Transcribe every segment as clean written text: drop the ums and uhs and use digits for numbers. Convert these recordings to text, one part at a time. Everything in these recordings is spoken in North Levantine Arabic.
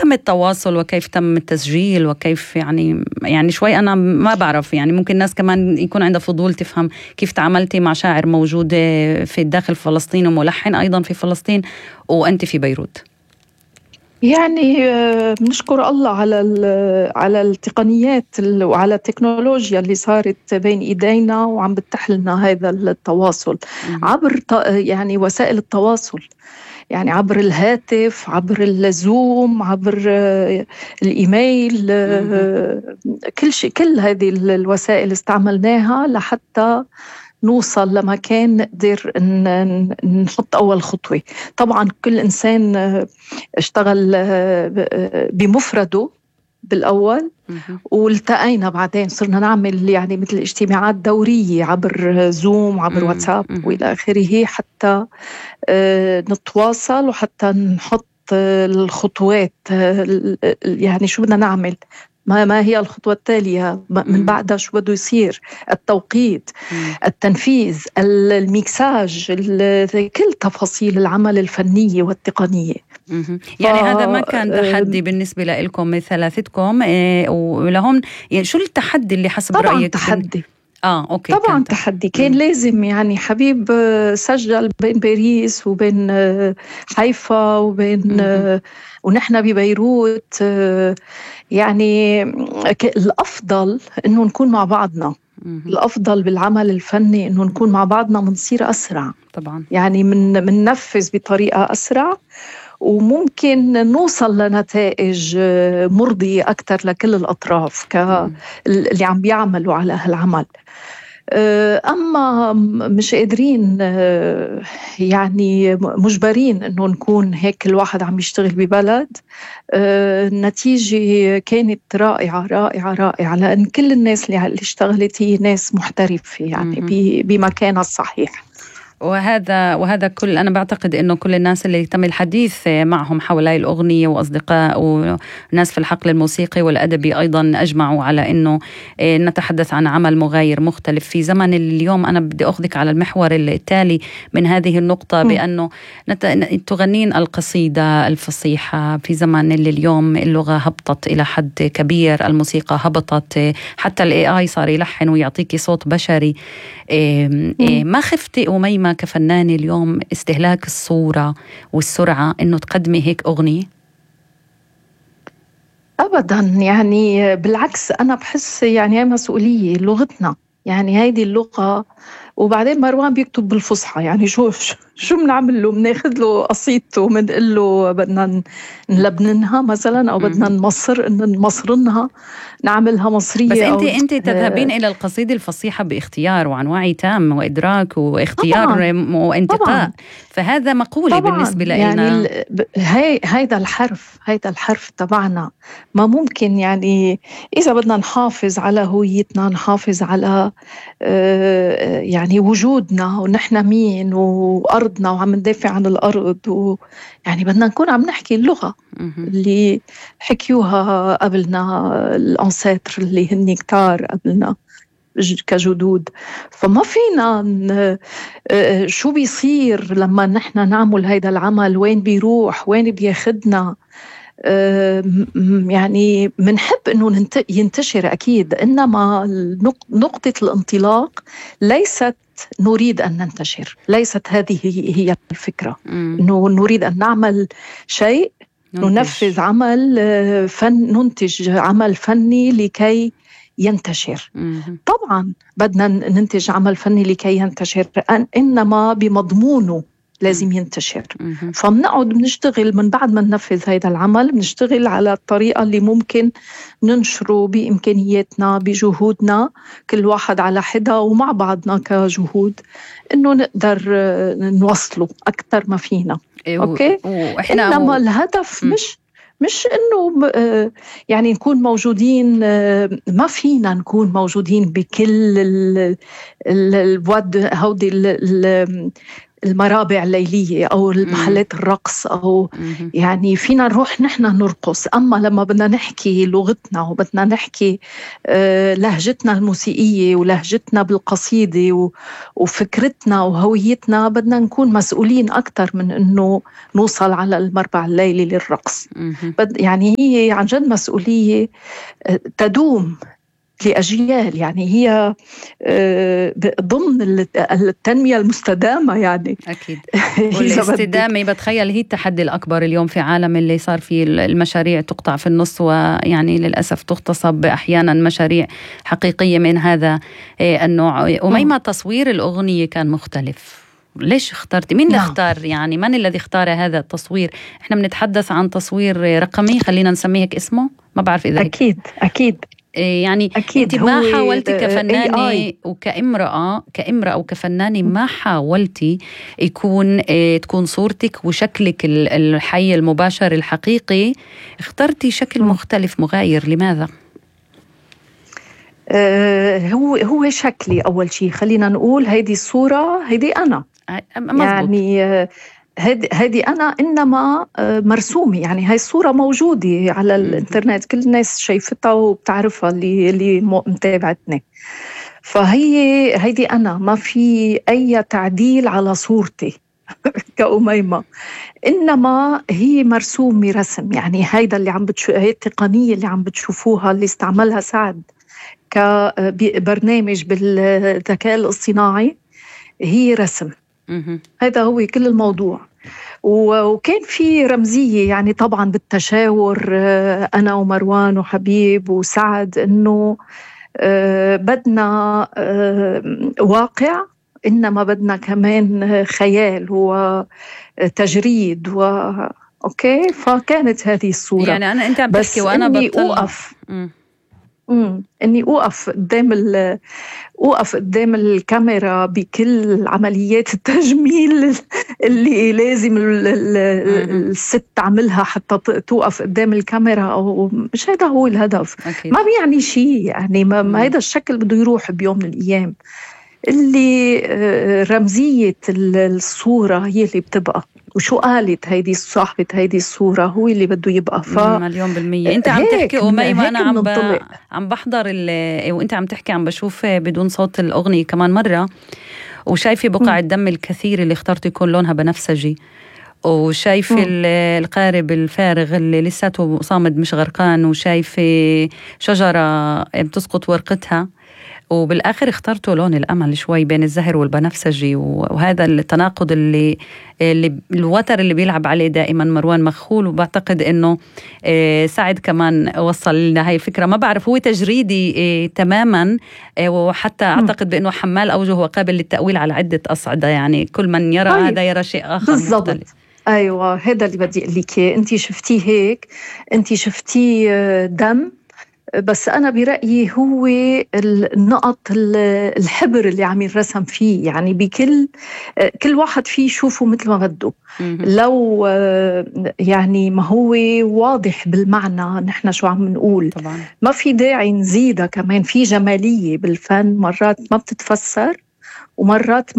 تم التواصل وكيف تم التسجيل وكيف يعني شوي أنا ما بعرف، يعني ممكن الناس كمان يكون عندها فضول تفهم كيف تعاملتي مع شاعر موجود في داخل فلسطين وملحن أيضا في فلسطين وأنت في بيروت. يعني بنشكر الله على التقنيات وعلى التكنولوجيا اللي صارت بين إيدينا وعم بتتيح لنا هذا التواصل عبر يعني وسائل التواصل، يعني عبر الهاتف، عبر الزوم، عبر الإيميل، كل شيء، كل هذه الوسائل استعملناها لحتى نوصل لمكان نقدر نحط أول خطوة. طبعا كل إنسان اشتغل بمفرده بالأول، والتقينا بعدين صرنا نعمل يعني مثل اجتماعات دورية عبر زوم، عبر واتساب وإلى آخره، حتى نتواصل وحتى نحط الخطوات، يعني شو بدنا نعمل، ما هي الخطوة التالية من بعدها، شو بده يصير، التوقيت، التنفيذ، الميكساج، كل تفاصيل العمل الفنية والتقنية. يعني هذا ما كان تحدي بالنسبة لكم ثلاثتكم ولهم؟ يعني شو التحدي اللي حسب رأيك؟ تحدي. أوكي. طبعا تحدي كان لازم، يعني حبيب سجل بين باريس وبين حيفا وبين ونحن ببيروت، يعني الأفضل إنه نكون مع بعضنا. الأفضل بالعمل الفني إنه نكون مع بعضنا، منصير أسرع طبعا، يعني مننفذ بطريقة أسرع، وممكن نوصل لنتائج مرضية أكثر لكل الأطراف اللي عم بيعملوا على هالعمل. أما مش قادرين، يعني مجبرين إنه نكون هيك الواحد عم يشتغل ببلد. النتيجة كانت رائعة رائعة رائعة، لأن كل الناس اللي اشتغلت هي ناس محترفة، يعني بمكانها الصحيح. وهذا كل، أنا بعتقد إنه كل الناس اللي تم الحديث معهم حول هاي الأغنية وأصدقاء وناس في الحقل الموسيقي والأدبي أيضا أجمعوا على إنه نتحدث عن عمل مغاير مختلف في زمن اليوم. أنا بدي أخذك على المحور التالي من هذه النقطة، بأنه تغنين القصيدة الفصيحة في زمن اللي اليوم اللغة هبطت إلى حد كبير، الموسيقى هبطت، حتى ال AI صار يلحن ويعطيكي صوت بشري. ما خفتي أميمة كفنانة اليوم استهلاك الصورة والسرعة إنه تقدمي هيك أغنية؟ أبداً، يعني بالعكس، أنا بحس يعني هي مسؤولية لغتنا، يعني هيدي اللغة. وبعدين مروان بيكتب بالفصحى، يعني شو بنعمل له؟ بناخذ له قصيدته وبنقول له بدنا نلبننها مثلا، أو بدنا نمصرنها، نعملها مصرية. بس أنت تذهبين إلى القصيدة الفصيحة باختيار وعن وعي تام وإدراك واختيار طبعاً وانتقاء طبعاً. فهذا مقولة بالنسبة لنا، يعني هيدا الحرف تبعنا ما ممكن، يعني إذا بدنا نحافظ على هويتنا، نحافظ على يعني وجودنا ونحن مين وأرضنا وعم ندافع عن الأرض، يعني بدنا نكون عم نحكي اللغة اللي حكيوها قبلنا الأنساتر اللي هن كتار قبلنا كجدود. فما فينا شو بيصير لما نحن نعمل هيدا العمل، وين بيروح، وين بياخدنا. يعني منحب انه ينتشر اكيد، انما نقطة الانطلاق ليست نريد ان ننتشر، ليست هذه هي الفكرة. انه نريد ان نعمل شيء، ننفذ عمل ننتج عمل فني لكي ينتشر. طبعا بدنا ننتج عمل فني لكي ينتشر، انما بمضمونه لازم ينتشر. فبنقعد بنشتغل من بعد ما ننفذ هذا العمل، بنشتغل على الطريقة اللي ممكن ننشره بإمكانياتنا، بجهودنا، كل واحد على حدة ومع بعضنا كجهود، إنه نقدر نوصله أكثر ما فينا. أوكي؟ إنما الهدف مش إنه يعني نكون موجودين، ما فينا نكون موجودين بكل الود هودي المرابع الليلية أو المحلات الرقص، أو يعني فينا نروح نحن نرقص. أما لما بدنا نحكي لغتنا وبدنا نحكي لهجتنا الموسيقية ولهجتنا بالقصيدة وفكرتنا وهويتنا، بدنا نكون مسؤولين أكتر من أنه نوصل على المربع الليلي للرقص. يعني هي عن جد مسؤولية تدوم لأجيال، يعني هي ضمن التنمية المستدامة يعني. أكيد. والاستدامة بتخيل هي التحدي الأكبر اليوم في عالم اللي صار فيه المشاريع تقطع في النص، ويعني للأسف تغتصب أحيانا مشاريع حقيقية من هذا النوع. وميما تصوير الأغنية كان مختلف، ليش اخترتي؟ مين اللي اختار؟ يعني من الذي اختار هذا التصوير؟ احنا بنتحدث عن تصوير رقمي، خلينا نسميه هيك اسمه، ما بعرف إذا أكيد يعني أكيد. انت ما حاولتي كفنانة وكامرأة وكفنانة ما حاولتي تكون صورتك وشكلك الحي المباشر الحقيقي، اخترتي شكل مختلف مغاير، لماذا؟ هو شكلي أول شيء، خلينا نقول هيدي الصورة، هيدي أنا مزبوط. يعني هذه أنا إنما مرسومة، يعني هاي الصورة موجودة على الإنترنت، كل الناس شايفتها وبتعرفها اللي متابعتني. هيدي أنا، ما في أي تعديل على صورتي كأميمة، إنما هي مرسومة رسم. يعني هيدا اللي هي التقنية اللي عم بتشوفوها اللي استعملها سعد كبرنامج بالذكاء الاصطناعي، هي رسم. هذا هو كل الموضوع. وكان في رمزية يعني طبعا بالتشاور أنا ومروان وحبيب وسعد، إنه بدنا واقع، إنما بدنا كمان خيال وتجريد أوكي. فكانت هذه الصورة. يعني أنت عم تحكي وأنا أوقف إني أوقف قدام الكاميرا بكل عمليات التجميل اللي لازم الست تعملها حتى توقف قدام الكاميرا، أو مش هذا هو الهدف. أكيد. ما بيعني شيء يعني، ما هذا الشكل بده يروح بيوم من الأيام. اللي رمزية الصورة هي اللي بتبقى، وشو قالت هيدي صاحبة هيدي الصورة هو اللي بده يبقى. مليون بالمية. انت عم تحكي أميمة، أنا عم بحضر وانت عم تحكي عم بشوف بدون صوت الأغنية كمان مرة، وشايفة بقع الدم الكثير اللي اخترت يكون لونها بنفسجي، وشايفة القارب الفارغ اللي لساته صامد مش غرقان، وشايفة شجرة بتسقط ورقتها، وبالآخر اخترتوا لون الأمل شوي بين الزهر والبنفسجي. وهذا التناقض اللي الوتر اللي بيلعب عليه دائما مروان مخول. وبعتقد إنه سعد كمان وصل لنا هاي الفكرة، ما بعرف هو تجريدي تماما، وحتى أعتقد بأنه حمال أوجه وقابل للتأويل على عدة أصعدة، يعني كل من يرى هذا يرى شيء آخر بالضبط. مختلف. أيوة، هذا اللي بدي أقول لك. أنت شفتيه هيك، أنت شفتيه دم، بس أنا برأيي هو النقط الحبر اللي عم يرسم فيه، يعني كل واحد فيه يشوفه مثل ما بده. لو يعني ما هو واضح بالمعنى نحن شو عم نقول طبعا. ما في داعي نزيدها كمان. في جمالية بالفن مرات ما بتتفسر، ومرات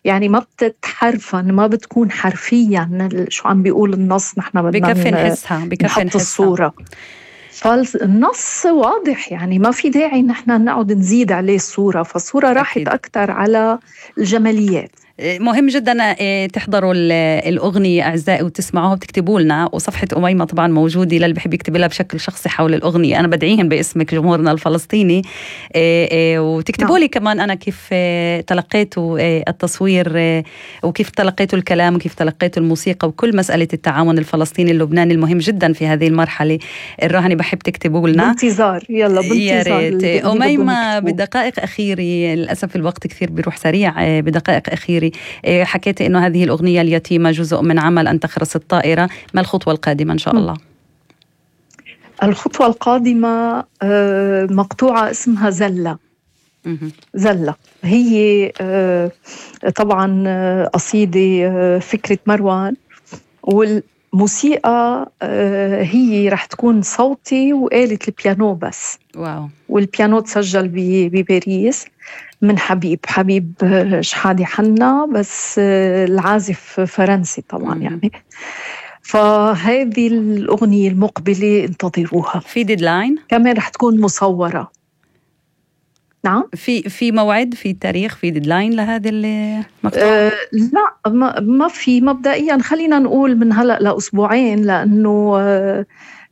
يعني ما بتتحرفن، ما بتكون حرفيا شو عم بيقول النص. نحن بدنا بكفي نحسها، نحط الصورة، فالنص واضح، يعني ما في داعي نحن نقعد نزيد عليه الصورة. فالصورة راحت أكتر على الجماليات. مهم جدا تحضروا الأغنية أعزائي وتسمعوها وتكتبوا لنا، وصفحة أميمة طبعا موجودة للي بحب يكتب لها بشكل شخصي حول الأغنية. أنا بدعيهم باسمك جمهورنا الفلسطيني، وتكتبوا لي كمان أنا كيف تلقيتوا التصوير، وكيف تلقيتوا الكلام، وكيف تلقيتوا الموسيقى، وكل مسألة التعاون الفلسطيني اللبناني المهم جدا في هذه المرحلة الراهنة. بحب تكتبوا لنا بانتظار. يلا بانتظار. أميمة بدقائق أخيرة، للأسف الوقت كثير بيروح سريع، بدقائق أخيرة حكيت إنه هذه الأغنية اليتيمة جزء من عمل أن تخرس الطائرة، ما الخطوة القادمة إن شاء الله؟ الخطوة القادمة مقطوعة اسمها زلة. زلة هي طبعا قصيدة فكرة مروان، موسيقى هي رح تكون صوتي وآلة البيانو بس. واو. والبيانو تسجل بباريس من حبيب شحادة حنا، بس العازف فرنسي طبعا يعني. فهذه الأغنية المقبلة انتظروها. في ديدلاين؟ كمان رح تكون مصورة. نعم. في موعد، في تاريخ، في ديدلاين لهذه المقطوعة؟ لا، ما في. مبدئيا خلينا نقول من هلأ لأسبوعين، لأنه